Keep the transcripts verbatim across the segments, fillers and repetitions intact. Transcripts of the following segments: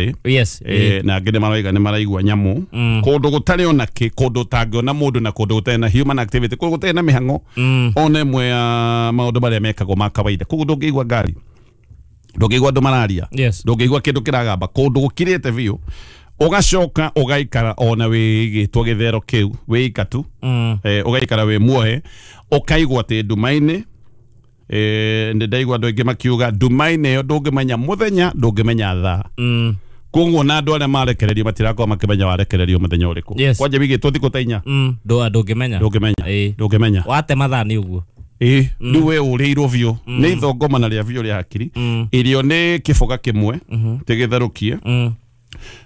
mĩtĩ. Yes. Eh, na angĩ nĩ maroiga nĩ maraigua nyamũ Mm. kũndũ gũtarĩ ona kĩ, kũndũ ũtangĩona mũndũ na kũndũ gũtarĩ na human activity, kũndũ gũtarĩ na mĩhang'o Mm. ona ĩmwe ya maũndũ marĩa mekagwo ma kawaida. Koguo ndũngĩigua ngari, ndũngĩigua andũ mararia, Yes. ndũngĩigua kĩndũ kĩragamba, kũndũ gũkirĩte biũ. Ũgacoka ũgaikara ona wĩigĩtwo gĩthero kĩu wĩika tu, Mm. eh, ũgaikara wĩ muohe, ũkaigua atĩ nduma-inĩ. eh, nĩ ndaigua andũ aingĩ makiuga nduma-inĩ ĩyo ndũngĩmenya mũthenya, ndũngĩmenya thaa. Mm. Koguo na andũ arĩa marekererio matirakorwo makĩmenya warekererio mũthenya ũrĩkũ. Yes. Kwanja wigĩtwo thikũ ta inya, Mm. Ndũ ndũngĩmenya. ndũngĩmenya, Ĩĩ. ndũngĩmenya. Watema thaa nĩ ũguo. Ĩĩ, rĩu we ũrĩirwo biũ nĩ ithongomana rĩa biũ rĩa hakiri. Mm. Irio nĩ kĩboga kĩmwe tĩgĩtherũkie, Mm.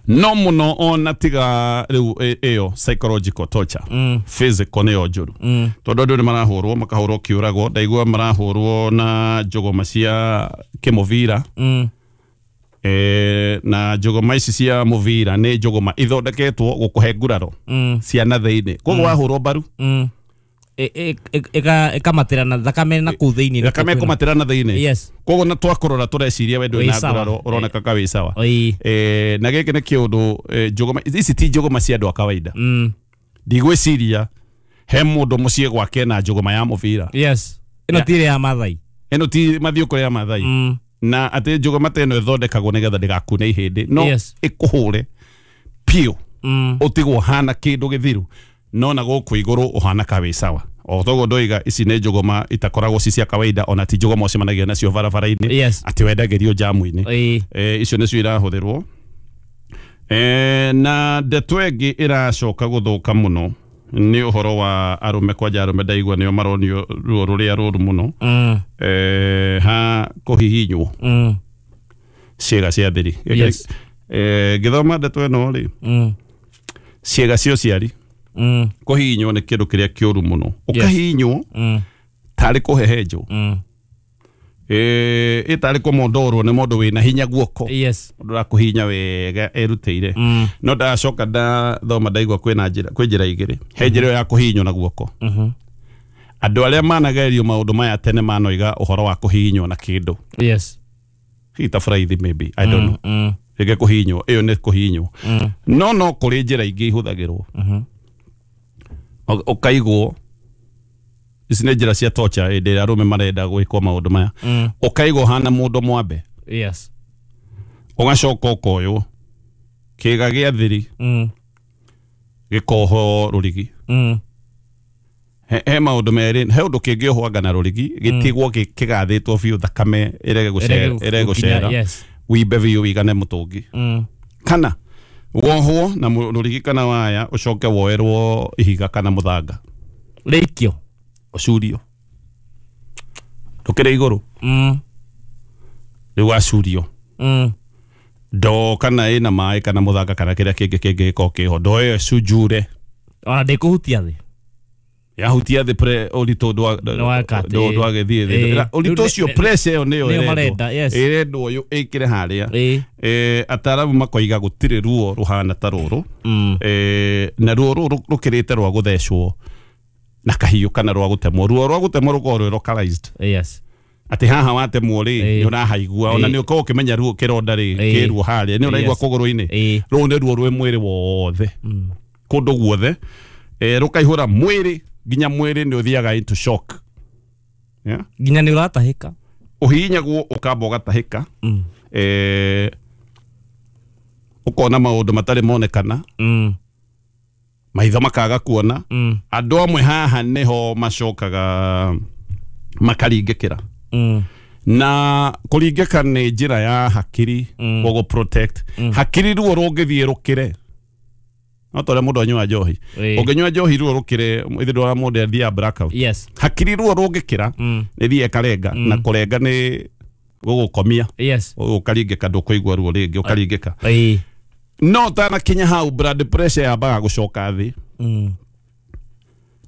no mũno ona tiga rĩu ĩ- ĩyo psychological torture, Mm. physical nĩyo njũru, Mm. tondũ andũ nĩ marahũrwo, makahũrwo kĩũragwo. Ndaigua marahũrwo na njũgũma cia kĩmũbira. Mm. E, na njũgũma ici cia mũbira nĩ njũgũma ithondeketwo gũkũhe nguraro Mm. cia na thĩinĩ, koguo wahũrwo mbaru, Mm. Ĩ- ĩ- ĩ- ĩka- ĩkamatĩra na thakame na kũu thĩinĩ. Thakame ĩkũmatĩra na thĩinĩ. Yes. Koguo na twakũrora tũreciria we ndũrĩ Wĩ na sawa. nguraro, ũroneka ka wĩ sawa. Ĩĩ. E, na gĩkĩ nĩ kĩũndũ, e, njũgũma ici ti njũgũma cia andũ a kawaida. Mm. Ndigwĩciria he mũndũ mũciĩ gwake na njũgũma ya mũbira. Yes. Ĩno Yeah. ti ĩrĩa ya Mathai. Ĩno ti mathiũkũ ya Mathai. Mm. Na atĩ njũgũma ta ĩno ĩthondekagwo nĩgetha ndĩgakune ihĩndĩ, no Yes. ĩkũhũre piũ, Mm. ũtigwo ũhana kĩndũ gĩthiru, no na gũkũ igũrũ ũhana ka wĩ sawa. O toguo ndoiga, ici nĩ njũgũma itakoragwo ci cia kawaida, ona ti njũgũma ũcemanagia nacio barabara-inĩ Yes. atĩ wendagĩrio njamu-inĩ. Ĩĩ. E, icio nĩcio irahũthĩrwo. E, na ndeto ĩngĩ ĩracoka gũthũka mũno nĩ ũhoro wa arũme. Kwanja arũme ndaigua nĩo maronio ruo rũrĩa rũru mũno, Mm. e, ha kũhihinywo Mm. ciĩga cia thiri. Yes. E, ngĩthoma ndeto ĩno rĩ, Mm. ciĩga cia ũciari Mm. kũhihinywo nĩ kĩndũ kĩrĩa kĩũru mũno, ũkahihinywo Mm. tarĩ kũhehenjwo, Mm. ĩ ĩ tarĩ kũmondorwo nĩ mũndũ wĩna hinya guoko, Yes. mũndũ ũrakũhihinya wega erutĩire. Mm. No ndacoka ndathoma ndaigua kwĩna njĩra, kwĩ njĩra igĩrĩ. He njĩra ĩyo ya kũhihinywo na guoko. Mhm. Andũ arĩa managerio maũndũ maya tene manoiga ũhoro wa kũhihinywo na kĩndũ, Yes. hihi ta buraithi, maybe, I don't know. Mm. Rĩngĩ kũhihinywo ĩyo nĩ kũhihinywo, Mm. no no kũrĩ njĩra ingĩ ihũthagĩrwo. Mhm. Ũ- ũkaigwo ici nĩ njĩra cia torture hĩndĩ ĩrĩa arũme marenda gwĩkwo maũndũ maya. Mm. Ũkaigwo hana mũndũ mwambe, Yes. ũgacoka ũkoywo kĩĩga gĩa thiri, Mm. gĩkohwo rũrigi. Mm. he, he maũndũ merĩ, he ũndũ kĩngĩohwo na rũrigi gĩtigwo gĩ- kĩgathĩtwo biũ, thakame ĩrege gũcera, ĩrege gũcera, Yes. wimbe biũ wigane mũtũngi, Mm. kana wohwo na mũ- rũrigi kana waya, ũcoke woerwo ihiga kana mũthanga, Rĩikio. ũcurio ndũkĩrĩ igũrũ. Mm. Rĩu wacurio Mm. ndoo kana ĩna maĩ kana mũthanga kana kĩrĩa kĩngĩ kĩngĩgĩkorwo kĩho, ndoo ĩyo ĩcunjure. Ona ndĩkũhutia thĩ. Yahutia thĩ, pre ũritũ ndwa- Ndwaka atĩ- ndwa- ndwagĩthiĩ thĩ. Ĩĩ. Na ũritũ Rĩu ũcio, nĩ- pressure ĩyo nĩyo nĩyo ĩrendwo. marenda, yes. Ĩrendwo ũyũ ĩkĩre harĩa. Ĩĩ. Eh, ataaramu makoiga gũtirĩ ruo rũhana ta rũrũ. Mm. Eh, na ruo rũrũ rũkĩrĩte rwa gũthecwo na kahiũ kana rwa gũtemwo. Ruo rwa gũtemwo rũkoragwo rwĩ localized, Yes. atĩ haha watemwo rĩ, Ĩĩ. nĩ ũrahaigua, ona Ĩĩ. nĩ ũkoragwo ũkĩmenya ruo kĩronda rĩ, Ĩĩ. kĩruo harĩa nĩ ũraigua Yes. kũgũrũ-inĩ. Ĩĩ. Rũu nĩ ruo rwĩ mwĩrĩ wothe, Mm. kũndũ guothe. Eh, rũkaihũra mwĩrĩ nginya mwĩrĩ nĩ ũthiaga into shock, yeah? Nginya nĩ ũratahĩka. Ũhihinyagwo ũkamba ũgatahĩka, Mm. eh, ũkona maũndũ matarĩ monekana, Mm. maitho makaga kuona. Mm. Andũ amwe haha nĩho macokaga makaringĩkĩra, Mm. na kũringĩka nĩ njĩra ya hakiri Mm. gũgũ protect hakiri. Ruo rũngĩthiĩ rũkĩre, no ta ũrĩa mũndũ anyua njohi, Ĩĩ. ũngĩnyua njohi ruo rũkĩre, ithe ndwara mũndũ athiaga blackout. Yes. Hakiri ruo rũngĩkĩra, Mm. nĩ thiĩ ĩkarenga, na kũrenga nĩ gũgũkomia, Yes. ũkaringĩka, ndũkũigua ruo rĩngĩ, ũkaringĩka. Ĩĩ. No ũtanakinya hau, blood pressure yambaga gũcoka thĩ, Mm.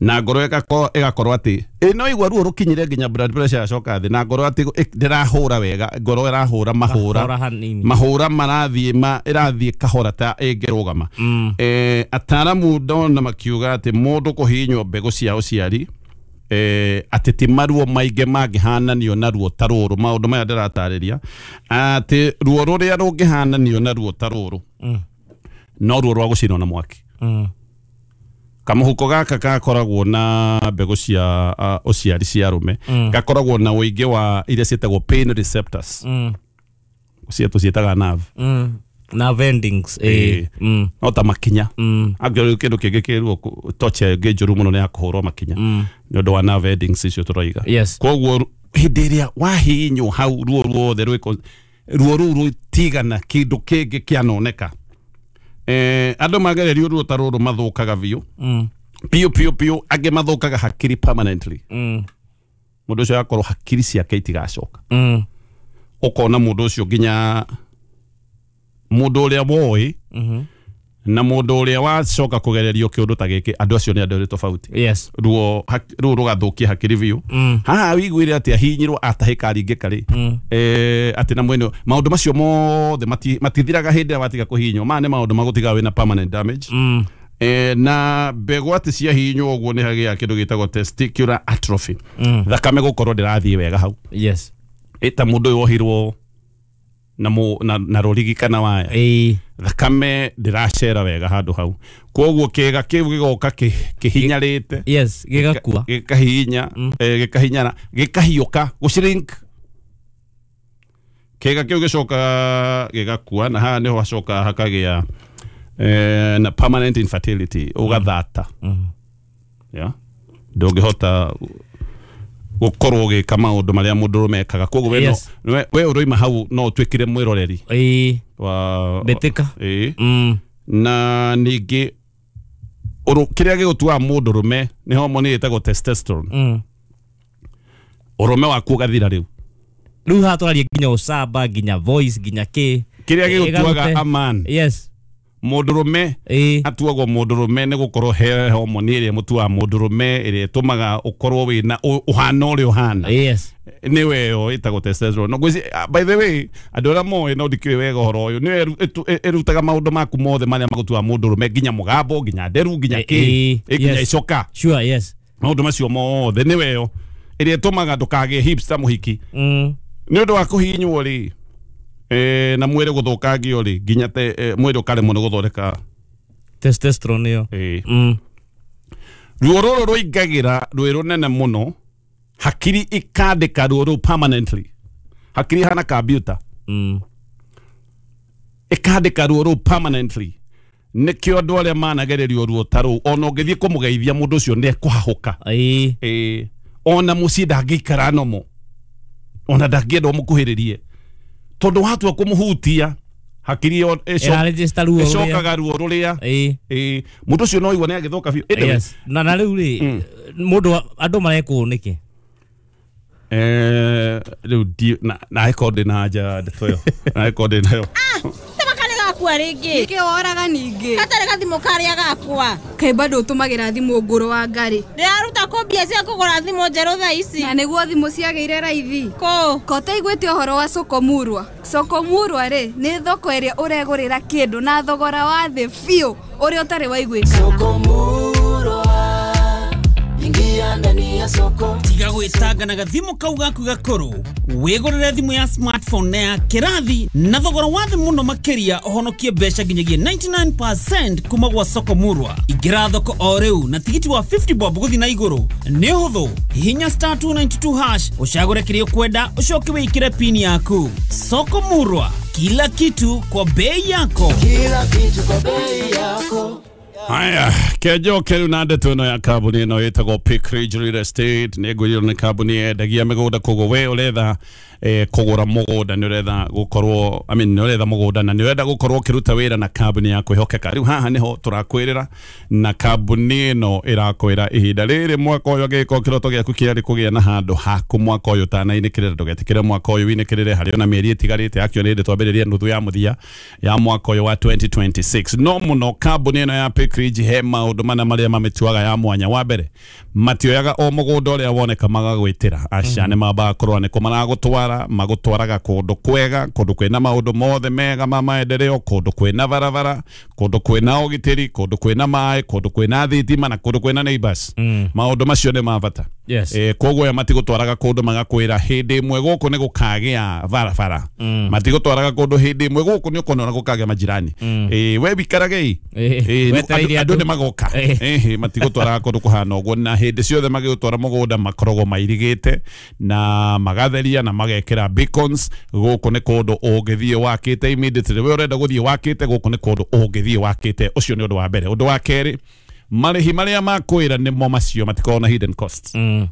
na ngoro ĩgakorwo ĩgakorwo atĩ ĩ no igua ruo rũkinyire nginya blood pressure yacoka thĩ, na ngoro atĩ ĩ- ndĩrahũra wega, ngoro ĩrahũra mahũra Mahũra hanini. Mahũra marathiĩ ma ĩrathiĩ kahora ta ĩngĩrũgama. Mm. Eh, ataaramu ndona makiuga atĩ mũndũ kũhihinywo mbegũ cia ũciari eh, atĩ ti maruo maingĩ mangĩhananio na ruo ta rũrũ maũndũ maya ndĩratarĩria atĩ ruo rũrĩa rũngĩhananio na ruo ta rũrũ Mm. no ruo rwa gũcinwo na mwaki. Mm. Kamũhuko gaka gakoragwo na mbegũ cia uh, ũciari cia arũme Mm. gakoragwo na ũingĩ wa iria ciĩtagwo pain receptors Mm. cia tũciĩtaga nerve. Mm. Na vendings Ĩĩ. eh. Mm. No ta makinya Mm. angĩkorwo kĩndũ kĩngĩ kĩruo torture ĩngĩ njũru mũno nĩ ya kũhũrwo makinya Mm. nĩ ũndũ wa nerve endings icio tũroiga. Yes. Koguo hĩndĩ ĩrĩa wahihinywo hau ruo ruothe rwĩko ruo rũu rũtigana kĩndũ kĩngĩ kĩanoneka. Eh, andũ magererio ruo ta rũrũ mathũkaga biũ Mm. biũ biũ biũ, angĩ mathũkaga hakiri permanently. Mm. Mũndũ ũcio agakorwo hakiri ciake itigacoka. Mm. Ũkona mũndũ ũcio nginya mũndũ ũrĩa woĩ Mhm. na mũndũ ũrĩa wacoka kũgererio kĩũndũ ta gĩkĩ, andũ acio nĩ andũ erĩ tofauti. Yes. Ruo hak- ruo rũgathũkia hakiri biũ. Mm. Haha wiguire atĩ ahihinyirwo atahĩka aringĩka rĩ Mm. eh, atĩ na mwene maũndũ macio mothe mati- matithiraga hĩndĩ ĩrĩa watiga kũhihinywo. Maya nĩ maũndũ magũtiga wĩna permanent damage. Mm. Eh, na mbegũ atĩ ciahihinywo ũguo nĩ hagĩa kĩndũ gĩtagwo testicular atrophy. Mm. Thakame gũkorwo ndĩrathiĩ wega hau. Yes. Ĩ ta mũndũ ũyũ wohirwo na, mũ, na, na rũrigi kana waya, Eh. thakame ndĩracera wega handũ hau, koguo kĩga kĩu gĩgoka kĩ- kĩhinyarĩte Yes, gĩgakua. gĩkahihinya eh, gĩkahinyara gĩkahiũka gũshrink kĩga kĩu gĩcoka gĩgakua, na haha nĩho hacoka hakagĩa eh, na permanent infertility, ũgathata. Mm. Yeah? Ndũngĩhota gũkorwo ũgĩka maũndũ marĩa mũndũrũme ekaga, koguo we no- Yes. we we ũroima hau no ũtuĩkire mwĩroreri Eh. wa Mbĩtĩka. ĩĩ. Mm. Na ningĩ ũrũ- kĩrĩa gĩgũtuaga mũndũrũme nĩ homoni ĩtagwo testosterone. Mm. Ũrũme waku ũgathira rĩu. Rĩu haha tũraria nginya ũcamba, nginya voice, nginya kĩ Kĩrĩa gĩgũtuaga Ĩgarute. a man, Yes. mũndũrũme Eh. atuagwo mũndũrũme nĩ gũkorwo he homoni ĩrĩa ĩmũtuaga mũndũrũme, ĩrĩa ĩtũmaga ũkorwo wĩna ũ- ũhana ũrĩa ũhana. Yes. Nĩwe ĩyo ĩtagwo testosterone. No ngwĩci- ah, by the way andũ arĩa moĩ no ndikĩũĩ wega ũhoro ũyũ, nĩyo ĩru- ĩtu- ĩ- ĩrutaga maũndũ maku mothe marĩa magũtuaga mũndũrũme, nginya mũgambo, nginya nderu, nginya Eh, kĩ eh, ĩ, nginya yes. icoka. Sure, yes. Maũndũ macio mothe nĩwe ĩyo ĩrĩa ĩtũmaga ndũkagĩe hips ta mũhiki Mm. nĩ ũndũ wa kũhihinywo rĩ, eh, na mwĩrĩ gũthũkangio rĩ, nginya te eh, mwĩrĩ ũkaremwo nĩ gũthondeka Testosterone ĩyo. ĩ. Mm. Ruo rũrũ rũingagĩra rwĩ rũnene mũno, hakiri ikandĩka ruo rũu permanently. Hakiri ihana kambiuta Mm. ĩkandĩka ruo rũu permanently. Nĩkĩo andũ arĩa managererio ruo ta rũu ona ũngĩthiĩ kũmũgeithia mũndũ ũcio nĩ ekũhahũka. Eh. Ĩ, ona mũciĩ ndangĩikara nomo, ona ndangĩenda ũmũkuhĩrĩrie, tondũ watua kũmũhutia hakiri ĩyo ĩco- Ĩraregister ruo rũrĩa. ĩcokaga ruo rũrĩa. Eh. Ĩ, mũndũ ũcio no igua nĩ agĩthũka biũ. Ĩndĩ- Yes. Na na rĩu rĩ mũndũ wa- andũ marekwo nĩkĩ? Eh, rĩu ndi na na ĩkorwo ndĩ na anja ndeto ĩyo, na ĩkorwo ndĩ nayo. Tama karĩ gakua rĩngĩ. Nĩkĩ woraga ningĩ? Gatarĩ gathimũ karĩa gakwa. Kaĩ bado ũtũmagĩra thimũ ngũrũ wa ngarĩ? Ndĩraruta kũ mbia cia kũgũra thimũ njerũ thaa ici? Na nĩguo thimũ ciagĩire raithi. Kũ? Ko ũtaiguĩte ũhoro wa Soko Murwa? Soko Murwa rĩ nĩ thoko ĩrĩa ũregũrĩra kĩndũ na thogora wa thĩ biũ ũrĩa ũtarĩ waiguĩkana. Ingia ndani ya soko. Tiga gwĩtanga na gathimũ kau gaku gakũrũ, wĩgũrĩre thimũ ya smartphone na ya kĩrathi na thogora wa thĩ mũno makĩria, ũhonokie mbeca nginyagia ninety-nine percent kuma gwa Soko Murwa. Ingĩra thoko o rĩu na tigiti wa fifty bob gũthiĩ na igũrũ. Nĩ ũhũthũ, hihinya star two ninety-two hash ũcagũre kĩrĩa ũkwenda, ũcoke wĩkĩre pin yaku. Soko Murwa, kila kitu kwa bei yako. Kila kitu kwa bei yako. Haya, kenjoke rĩu na ndeto ĩno ya kambuni ĩno ĩtagwo Peak Ridge Real Estate. Nĩ ngwĩrirwo nĩ kambuni yendagia mĩgũnda, koguo we ũretha eh, kũgũra mũgũnda, nĩ ũretha gũkorwo, I mean, nĩ ũretha mũgũnda na nĩ ũrenda gũkorwo ũkĩruta wĩra na kambuni ya kwĩhokeka. Rĩu haha nĩho tũrakwĩrĩra, na kambuni ĩno ĩrakwĩra ihinda rĩrĩ mwaka ũyũ angĩgĩkorwo kĩroto gĩaku kĩarĩ kũgĩa na handũ haku mwaka ũyũ ũtanainĩkĩrĩra, ndũgetĩkĩre mwaka ũyũ winĩkĩrĩre, harĩ ona mĩeri ĩtigarĩte yakĩo nĩ hĩndĩ twambĩrĩria nuthu ya mũthia ya mwaka ũyũ wa twenty twenty-six. No mũno kambuni ĩno ya Peak Ridge he maũndũ mana marĩa mamĩtuaga ya mwanya. Wa mbere, matioyaga o mũgũnda ũrĩa woneka magagwĩtĩra, aca nĩ mambaga kũrora nĩkũ maragũtwara, magũtwaraga kũndũ kwega, kũndũ kwĩna maũndũ mothe mega ma maendeleo, kũndũ kwĩna barabara, kũndũ kwĩna ũgitĩri, kũndũ kwĩna maĩ, kũndũ kwĩna thitima na kũndũ kwĩna neighbors. Mm. Maũndũ macio nĩ ma bata. Yes. Eh, koguo aya matigũtwaraga kũndũ magakwĩra hĩndĩ ĩmwe gũkũ nĩ gũkagĩa barabara, matigũtwaraga kũndũ hĩndĩ ĩmwe gũkũ nĩ ũkona gũkagĩa majirani, eh, we wikarage Eh, wetereire andũ andũ. nĩ magoka. Eh. Ĩhĩ, matigũtwaraga kũndũ kũhana ũguo, na hĩndĩ ciothe magĩgũtwara mũgũnda makoragwo mairigĩte na magatheria na magekĩra beacons. Gũkũ nĩ kũndũ ũngĩthiĩ wakĩte immediately, we ũrenda gũthiĩ wakĩte, gũkũ nĩ kũndũ ũngĩthiĩ wakĩte. Ũcio nĩ ũndũ wa mbere. Ũndũ wa kerĩ, marĩhi marĩa makwĩra nĩmo macio, matikoragwo na hidden costs. Mm.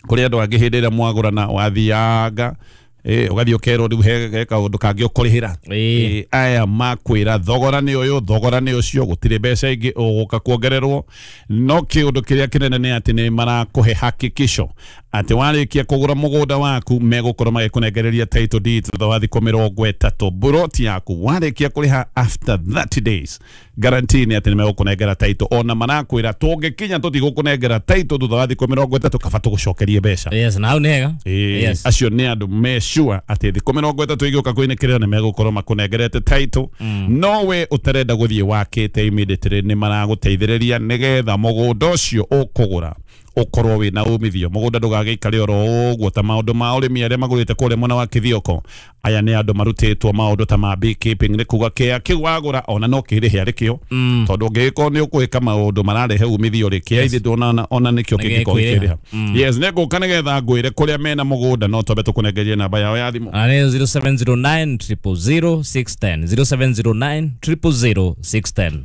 Kũrĩ andũ angĩ hĩndĩ ĩrĩa mwagũrana wathianga eh, ũgathiĩ ũkerwo rĩu he he kaũndũ kangĩ ũkũrĩhĩra. Ĩĩ. Eh, aya makwĩra thogora nĩ ũyũ, thogora nĩ ũcio, gũtirĩ mbeca ingĩ ũgũka kuongererwo. No kĩũndũ kĩrĩa kĩnene nĩ atĩ nĩ marakũhe hakikisho atĩ warĩkia kũgũra mũgũnda waku megũkorwo magĩkũnengereria title deed thutha wa thikũ mĩrongo ĩtatũ. Buroti yaku warĩkia kũrĩha after thirty days, guarantee nĩ atĩ nĩ megũkũnengera title. Ona marakwĩra tũngĩkinya tũtigũkũnengera title thutha wa thikũ mĩrongo ĩtatũ, kaba tũgũcokerie mbeca. Yes, na hau nĩ hega. Ĩĩ, Yes. acio nĩ andũ me sure atĩ thikũ mĩrongo ĩtatũ igĩũka kwĩnĩkĩrĩra nĩ megũkorwo makũnengerete title. No we ũtarenda gũthiĩ wakĩte immediately, nĩ maragũteithĩrĩria nĩgetha mũgũnda ũcio ũkũgũra ũkorwo wĩna umithio. Mũgũnda ndũgagĩikare oro ũguo ta maũndũ ma ũrĩmi arĩa magũrĩte kũrĩa mwena wa Kithioko. Aya nĩ andũ marutĩtwo maũndũ ta ma beekeeping, nĩ kuga kĩa kĩu wagũra ona no kĩrĩhe arĩ kĩo, tondũ ũngĩgĩkorwo nĩ ũkwĩka maũndũ mararehe umithio rĩ, kĩa ithe ndona ona nĩkĩo kĩngĩkorwo Nĩgĩkwĩrĩha. gĩkĩrĩha. Yes, nĩ ngũka nĩgetha ngwĩre kũrĩa mena mũgũnda, no twambe tũkũnengerie namba yao ya thimũ. Na nĩ zero seven zero nine zero zero zero six one zero, zero seven zero nine zero zero zero six one zero.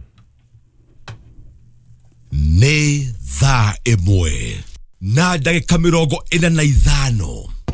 Nĩ thaa ĩmwe na ndagĩka mĩrongo ĩna na ithano.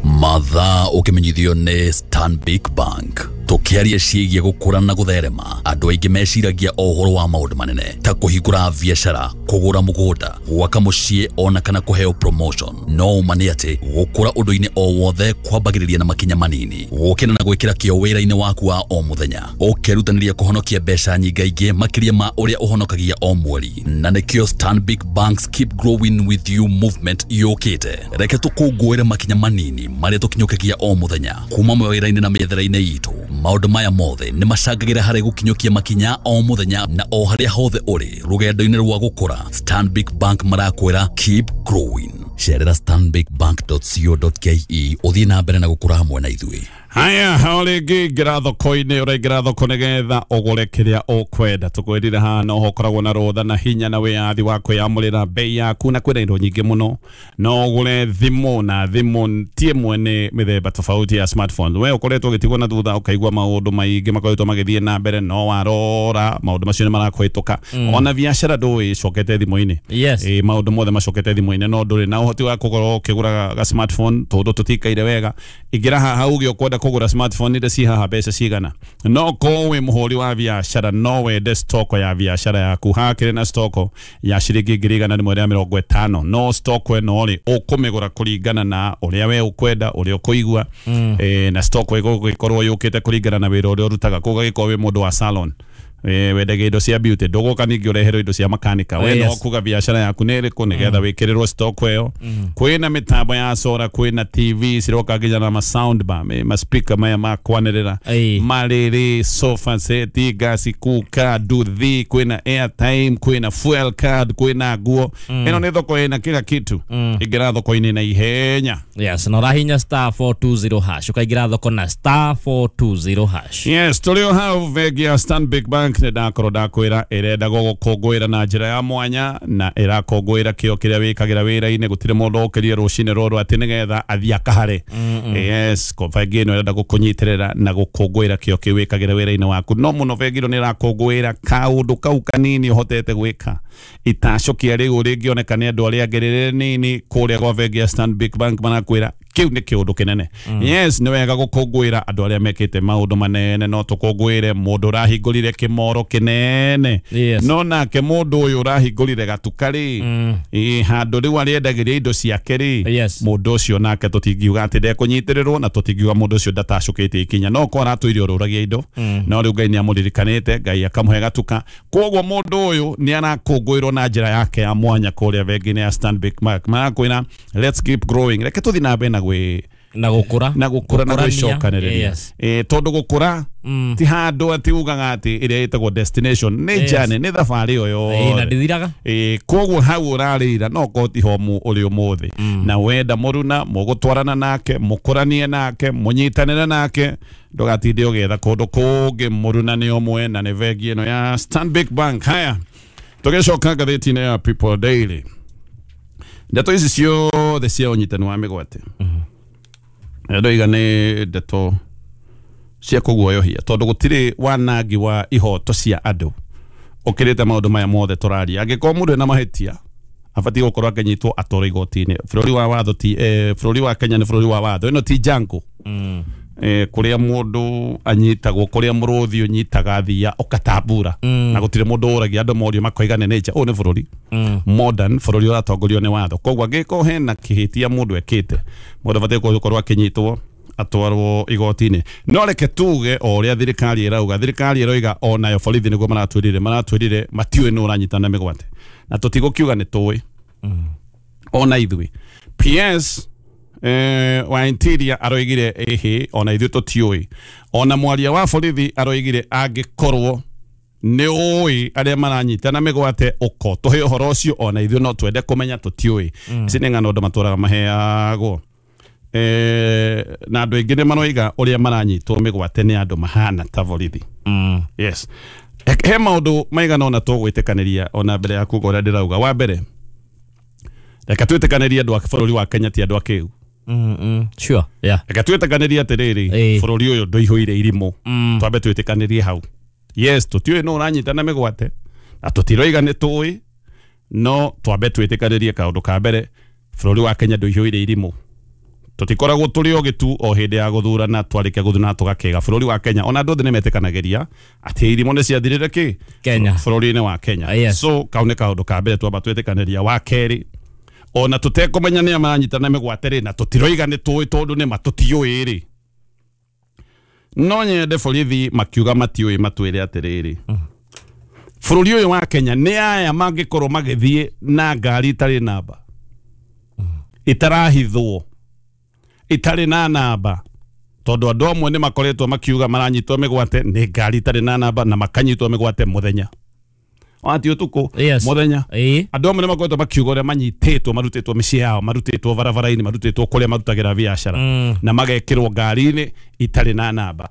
Mathaa ũkĩmenyithio nĩ Stanbic Bank. Tũkĩaria ciĩgiĩ gũkũra na gũtherema, andũ aingĩ meciragia o ũhoro wa maũndũ manene ta kũhingũra biacara, kũgũra mũgũnda, gwaka mũciĩ ona kana kũheo promotion. No ũma nĩ atĩ gũkũra ũndũ-inĩ o wothe kwambagĩrĩria na makinya manini, gũkĩra na gwĩkĩra kĩo wĩra-inĩ waku wa o mũthenya, ũkerutanĩria kũhonokia mbeca nyingaingĩ makĩria ma ũrĩa ũhonokagia o mweri. Na nĩkĩo Stanbic Bank's Keep Growing With You movement yũkĩte. Reke tũkũngũĩre makinya manini marĩa tũkinyũkagia o mũthenya kuma mawĩra-inĩ na mĩethere-inĩ itũ. Maũndũ maya mothe nĩ macangagĩra harĩ gũkinyũkia makinya o mũthenya na o harĩa hothe ũrĩ rũgendo-inĩ rwa gũkũra. Stanbic Bank marakwĩra, "Keep growing." Cerera stanbicbank dot co dot ke ũthiĩ na mbere na gũkũra hamwe na ithuĩ. Haya, o rĩngĩ ingĩra thoko-inĩ, ũraingĩra thoko nĩgetha ũgũre kĩrĩa ũkwenda. Tũkwĩrire haha no ho ũkoragwo na rũtha na hinya na wĩyathi wa kwĩyamũrĩra bei yaku, na kwĩna indo nyingĩ mũno. No ũgũre thimũ, na thimũ ti ĩmwe, nĩ mĩthemba tofauti ya smartphone. We ũkoretwo ũgĩtigwo na thutha, ũkaigua maũndũ maingĩ makoretwo magĩthiĩ na mbere, no warora maũndũ macio nĩ marakũhĩtũka. Ona biacara ndũĩ icokete thimũ-inĩ. Yes. Ĩ, maũndũ mothe macokete thimũ-inĩ, no ndũrĩ na ũhoti wa kũgũra ũkĩgũra ga smartphone tondũ tũtikaire wega. Ingĩra haha uge ũkwenda kũgũra smartphone iria ci haha, mbeca cigana. No korwo wĩ mũhũri wa biacara, no wende stoko ya biacara yaku, hakĩrĩ na stoko ya ciringi ngiri igana rĩmwe rĩa mĩrongo ĩtano. No stoko ĩno rĩ, ũkũmĩgũra kũringana na ũrĩa we ũkwenda, ũrĩa ũkũigua, eh, na stoko ĩgũgĩkorwo yũkĩte kũringana na wĩra ũrĩa ũrutaga. Kũgagĩkorwo wĩ mũndũ wa salon, eh, wendagia indo cia beauty, ndũgũka ningĩ ũreherwo indo cia makanika. We Yes. no kuga biacara yaku nĩ ĩrĩkũ nĩgetha wĩkĩrĩrwo stock ĩyo. Kwĩna mĩtambo ya solar, kwĩna T V ciroka nginya na ma sound bar, ma speaker maya ma kwanĩrĩra, Ĩĩ. marĩrĩ, sofa set, gas cooker, nduthi, kwĩna airtime, kwĩna fuel card, kwĩna nguo. Ĩno nĩ thoko ĩna kila kitu. Ingĩra thoko-inĩ na ihenya. Yes, na ũrahinya star four two zero hash ũkaingĩra thoko na star four two zero hash. Yes, tũrĩ o hau, bengi ya Stanbic Bank nĩ ndakorwo ndakwĩra ĩrenda gũgũkũngũĩra na njĩra ya mwanya, na ĩrakũngũĩra kĩo kĩrĩa wĩkagĩra wĩra-inĩ. Gũtirĩ mũndũ ũkĩrire rũcinĩ rũrũ atĩ nĩgetha athiĩ akahare. Yes, ko bengi ĩno ĩrenda gũkũnyitĩrĩra na gũkũngũĩra kĩo kĩu wĩkagĩra wĩra-inĩ waku. No mũno bengi ĩno nĩ ĩrakũngũĩra kaũndũ kau kanini ũhotete gwĩka, itacũkia rĩu rĩngĩoneka nĩ andũ arĩa angĩ rĩrĩ nini, kũrĩa gwa bengi ya Stanbic Bank marakwĩra kĩu nĩ kĩũndũ kĩnene. Yes, nĩ wega gũkũngũĩra andũ arĩa mekĩte maũndũ manene. No tũkũngũĩre mũndũ ũrahingũrire kĩmoro kĩnene, Yes. no nake mũndũ ũyũ ũrahingũrire gatuka rĩ, ĩ handũ rĩu arĩendagĩria indo ciake rĩ, Yes. mũndũ ũcio nake tũtingiuga atĩ ndekũnyitĩrĩrwo, na tũtingiuga mũndũ ũcio ndatacũkĩte ikinya. No ko aratũire ũrũragia indo, no rĩu Ngai nĩ amũririkanĩte, Ngai akamũhe gatuka. Koguo mũndũ ũyũ nĩ arakũngũĩrwo na njĩra yake ya mwanya kũrĩa bengi-inĩ ya Stanbic Bank. Marakwĩra, "Let's keep growing." Reke tũthiĩ na mbere na gwĩ Na gukura na gukura na gwicokanĩrĩria. Yes. Eh, tondũ gukura Mm. ti handũ atĩ ugaga atĩ ĩrĩa ĩtagwo destination nĩ Yes. journey, nĩ thabarĩ o Eh, na yothe. ndithiraga. Ĩ, koguo hau ũrarĩira no korwo ti ho ũrĩ ũmũthĩ na wenda mũruna mũgũtwarana nake mũkũranie nake mũnyitanĩre nake ndũgatinde ũgĩetha kũndũ kũngĩ mũruna nĩ ũmwe na nĩ bengi ĩno ya Stanbic Bank. Haya, tũgĩcoka ngathĩti-inĩ ya People Daily, ndeto ici ciothe cia ũnyitani wa mĩgwate ndoiga nĩ ndeto cia kũguoyohia tondũ gũtirĩ wanangi wa ihoto cia andũ ũkĩrĩte maũndũ maya mothe tũraria. Angĩkorwo mũndũ ena mahĩtia abatiĩ gũkorwo akĩnyitwo atwarwo igoti-inĩ. Bũrũri wa watho ti eh, bũrũri wa Kenya nĩ bũrũri wa watho, ĩno ti jungle Mm. eh, kũrĩa mũndũ anyitagwo, kũrĩa mũrũthi ũnyitaga thia ũkatambura Mm. na gũtirĩ mũndũ ũragia andũ morio makoiga nĩ nature. Ũyũ nĩ bũrũri Mm. modern, bũrũri ũratongorio nĩ watho. Koguo angĩkorwo hena kĩhĩtia mũndũ ekĩte, mũndũ abatiĩ gũkorwo akĩnyitwo atwarwo igoti-inĩ. No reke tuge o ũrĩa thirikari ĩrauga, thirikari ĩroiga onayo borithi nĩguo maratwĩrire, maratwĩrire matiũĩ nũ ũranyitana mĩgwate na tũtigũkiuga nĩ tũĩ ona ithuĩ. P S eh, wa Interior aroigire ĩhĩ ona ithuĩ tũtiũĩ. Ona mwaria wa borithi aroigire angĩkorwo nĩ ũĩ arĩa maranyitana mĩgwate ũko tũhe ũhoro ũcio, ona ithuĩ no twende kũmenya tũtiũĩ. Ici nĩ ng'ano andũ matũraga maheagwo. Eh, na andũ aingĩ nĩ maroiga ũrĩa maranyitwo mĩgwate nĩ andũ mahana ta borithi. Mm. Yes. He maũndũ maigana ũna tũgwĩtĩkanĩria ona mbere ya kuga ũrĩa ndĩrauga. Wa mbere, reke twĩtĩkanĩrie andũ a bũrũri wa Kenya ti andũ akĩgu. Mm, mm. Sure. Yeah. Reke twĩtĩkanĩrie atĩrĩrĩ, Ĩĩ. bũrũri ũyũ ndũihũire irimũ. Mm. Twambe twĩtĩkanĩrie hau. Yes, tũtiũĩ nũ ũranyitana mĩgwate na tũtiroiga nĩ tũĩ, no twambe twĩtĩkanĩrie kaũndũ ka mbere, bũrũri wa Kenya ndũihũire irimũ. Tũtikoragwo tũrĩ ogĩ tu o hĩndĩ ya gũthurana, twarĩkia gũthurana tũgakĩga. Bũrũri wa Kenya ona andũ othe nĩ metĩkanagĩria atĩ irimũ nĩ ciathirire kĩ Kenya. bũrũri-inĩ wa Kenya. Yes. So kau nĩ kaũndũ ka mbere twamba twĩtĩkanĩria. Wa kerĩ, ona tũtekũmenya nĩa maranyitana mĩgwate rĩ, na tũtiroiga nĩ tũĩ tondũ nĩ ma tũtiũĩ rĩ, no nyende borithi makiuga matiũĩ matwĩre atĩrĩrĩ, bũrũri ũyũ wa Kenya nĩ aya mangĩkorwo magĩthiĩ na ngari itarĩ namba, itarahithwo, itarĩ na namba, tondũ andũ amwe nĩ makoretwo makiuga maranyitwo mĩgwate nĩ ngari itarĩ na namba na makanyitwo mĩgwate mũthenya ati ũtukũ. Yes. Mũthenya. Ĩĩ. Andũ amwe nĩ makoretwo makiuga ũrĩa manyitĩtwo, marutĩtwo mĩciĩ yao, marutĩtwo barabara-inĩ, marutĩtwo kũrĩa marutagĩra biacara Mm. na magekĩrwo ngari-inĩ itarĩ na namba.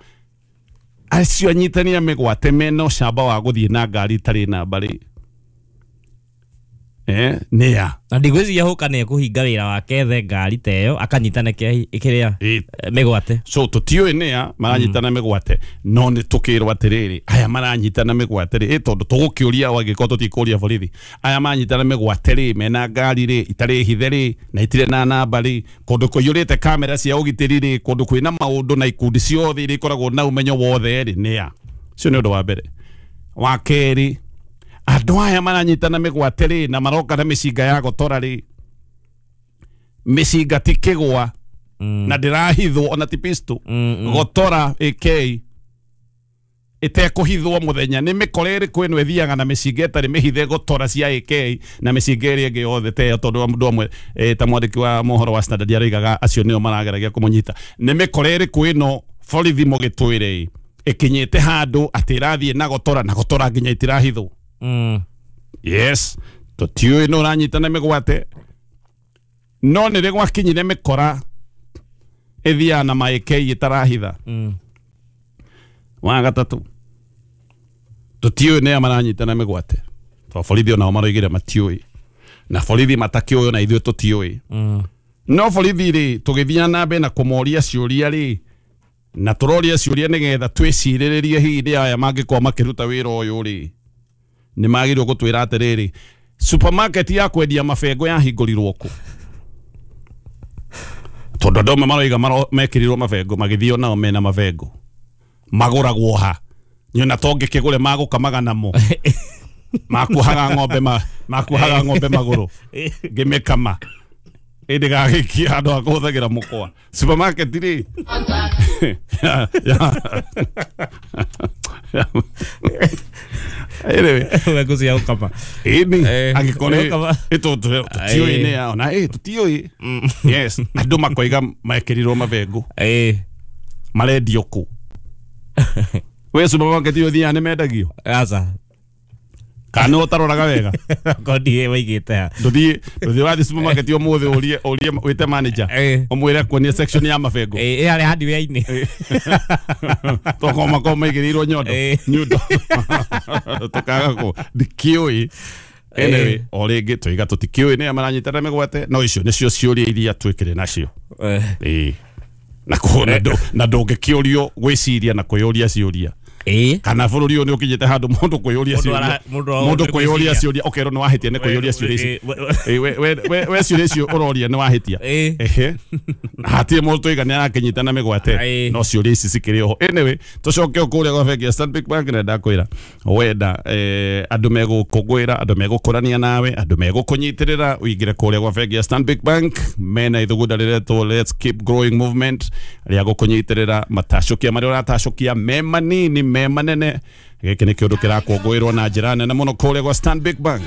Acio anyitani a mĩgwate mena ũcamba wa gũthiĩ na ngari itarĩ namba rĩ, eh, nĩa Na ndigwĩciria Hũka nĩ ekũhinga wĩra wake ethe ngari ta ĩyo akanyitane kĩrĩa Ĩĩ. mĩgwate. So tũtiũĩ nĩa maranyitana mĩgwate, no nĩ tũkĩrwo atĩrĩrĩ, aya maranyitana mĩgwate rĩ, ĩ tondũ tũgũkĩũria o angĩkorwo tũtikũria borithi, aya maranyitana mĩgwate rĩ, mena ngari rĩ itarĩ hithe rĩ na itirĩ na namba rĩ, kũndũ kũiyũrĩte kamera cia ũgitĩri rĩ, kũndũ kwĩna maũndũ na ikundi ciothe iria ikoragwo na ũmenyo wothe rĩ, nĩa ũcio nĩ ũndũ wa mbere. Wa kerĩ, andũ aya maranyitana mĩgwate rĩ na maroka na mĩcinga ya gotora rĩ, mĩcinga ti kĩgwa Mm. na ndĩrahithwo ona ti pistol, Mm, mm. gotora A K ĩtekũhithwo mũthenya nĩ mĩkora ĩrĩkũ ĩno ĩthiaga na mĩcinga ĩtarĩ mĩhithe gotora cia A K na mĩcinga ĩrĩa ĩngĩ yothe ta ĩyo, tondũ mũndũ amwe eh, ta mwandĩki wa mohoro wa Standard aroigaga acio nĩo marageragia kũmũnyita. Nĩ mĩkora ĩrĩkũ ĩno borithi mũgĩtwĩre ĩkinyĩte handũ atĩ ĩrathiĩ na gotora na gotora nginya itirahithwo? Mm. Yes, tũtiũĩ nũ ũranyitana mĩgwate, no nĩ rĩ gwakinyire mĩkora ĩthiaga na ma A K ĩtarahitha. Mm. Wa gatatũ, tũtiũĩ nĩa maranyitana mĩgwate tondũ borithi onao maroigire matiũĩ, na borithi matakĩũĩ ona ithuĩ tũtiũĩ. Mm. No borithi rĩ, tũgĩthiĩ na mbere na kũmoria ciũria rĩ, na tũroria ciũria nĩgetha twĩcirĩrĩrie hihi nĩ aya mangĩkorwo makĩruta wĩra ũyũ rĩ, nĩ magĩrĩirwo gũtwĩra atĩrĩrĩ, supermarket ya kwendia mabengo yahingũrirwo kũ? Tondũ andũ amwe maroiga mekĩrirwo mabengo magĩthiĩ nao mena mabengo magũragwo ha, nyona tongĩkĩgũre magũkamaga namo makuohaga ng'ombe ma makuohaga ng'ombe magũrũ ngĩmĩkama ĩndĩ gagĩkia handũ ha kũhũthagĩra mũkwa supermarket rĩ ya ya Anyway, Bengu cia gũkama. Ĩni Eh, angĩkorwo gũkama. tũtiũĩ nĩ ya ona ĩ tũtiũĩ. Yes, andũ makoiga mekĩrirwo mabengũ Ĩĩ. marendio kũ? We supermarket ũthiaga nĩ mendagio? Aca. Kana nĩ ũtaroraga wega? Kondi waigĩte ha. Ndũthiĩ ndũthiĩ wathiĩ supermarket ũmũthĩ ũrie ũrie wĩte manager Eh. ũmwĩre akuonie section ya mabengũ. Ĩĩ ĩ harĩa hardware-inĩ. Tokorwo makorwo maigĩrĩirwo nyondo Eh. nyundo tũkaga kũ ndikĩũĩ. Anyway, o rĩngĩ tũiga tũtikĩũĩ nĩa maranyitana mĩgwate, no icio nĩcio ciũria iria twĩkĩrĩ nacio. Eh. Ĩĩ. Na kũ- na ndũ- na ndũngĩkĩũrio gwĩciria na kwĩyũria ciũria. Ĩĩ. Kana bũrũri ũyũ nĩ ũkinyĩte handũ mũndũ kwĩyũria Mũndũ ciũria ara- mũndũ ara- mũndũ kwĩyũria ciũria ũkerwo nĩ wahĩtia nĩ kwĩyũria ciũria ici. Eh, we- we- Ĩĩ, we- we- we we ciũria icio ũroria nĩ wahĩtia. Ĩĩ. Ehe. Hatirĩ mũndũ tũiga nĩ arakĩnyita na mĩgwate Ĩĩ. no ciũria ici cikĩrĩ oho. Anyway, tũcoke o kũrĩa gwa bengi ya Stanbic Bank na ndakwĩra wenda eh, andũ megũkũngũĩra, andũ megũkũrania nawe, andũ megũkũnyitĩrĩra, ũingĩre kũrĩa gwa bengi ya Stanbic Bank mena ithugunda rĩretwo Let's Keep Growing Movement rĩa gũkũnyitĩrĩra matacũkia marĩa ũratacũkia me manini me manene. Gĩkĩ nĩ kĩũndũ kĩrakũngũĩrwo na njĩra nene mũno kũrĩa gwa Stanbic Bank.